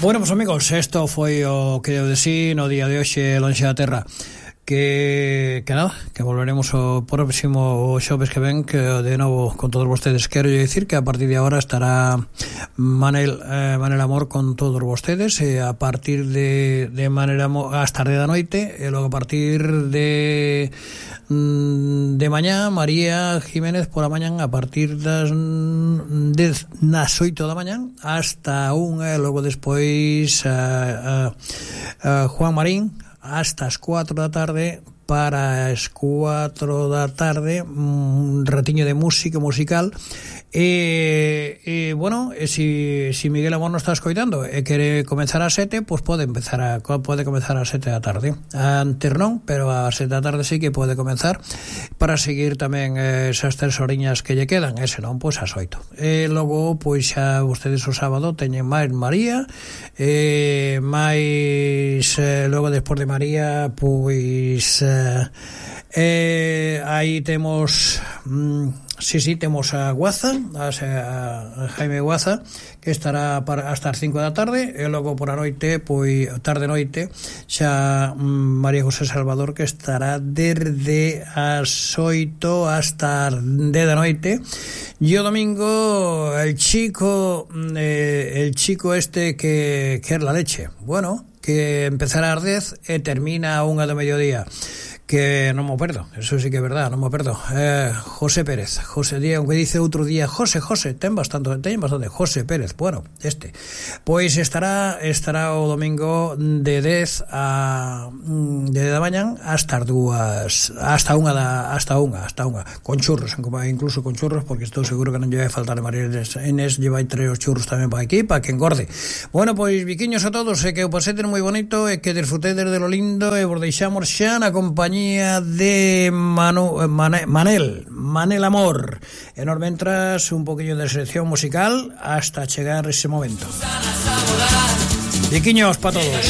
Bueno, pues amigos, esto foi o que deu de sí no día de hoxe lonxe da terra. Que nada, que volveremos o próximo xoves que ven, que de novo con todos vostedes. Quero dicir que a partir de agora estará Manel Amor con todos vostedes, e a partir de Manel Amor ás tarde da noite, e logo a partir de mañá María Jiménez por a mañán a partir das 8 da mañán hasta 1, e logo despois Juan Marín hasta as 4 da tarde. Para as 4 da tarde un ratiño de musical. Bueno, si Miguel Amor non está escoitando e quere comenzar ás 7, pois pode comenzar ás 7 da tarde. Antes non, pero ás 7 da tarde sí que pode comenzar, para seguir tamén esas 3 horiñas que lle quedan, e senón pois ás 8. E logo pois xa vostedes o sábado teñen máis María, máis logo despois de María pois aí temos temos a Guaza, a Jaime Guaza, que estará hasta as 5 da tarde, e logo por a noite, pois tarde-noite, xa María José Salvador, que estará desde as 8 hasta as 10 da noite. E o domingo el chico este que é la leche, bueno, que empezará ás 10 e termina a 1 do mediodía. Que non me perdo, eso sí que é verdad, non me perdo. José Pérez, aunque dice outro día José, ten bastante José Pérez, bueno, pois estará o domingo de 10 da mañán hasta as 2, hasta 1 con churros, incluso con churros, porque estou seguro que non lle vai faltar a María Inés, lle vai traer os churros tamén para aquí, para que engorde. Bueno, pois biquiños a todos, e que o paseten moi bonito, e que disfrutedes de lo lindo, e vos deixamos xa na compañía de Manel Amor. E nos mentras un poquillo de selección musical hasta chegar ese momento. Biquiños para todos.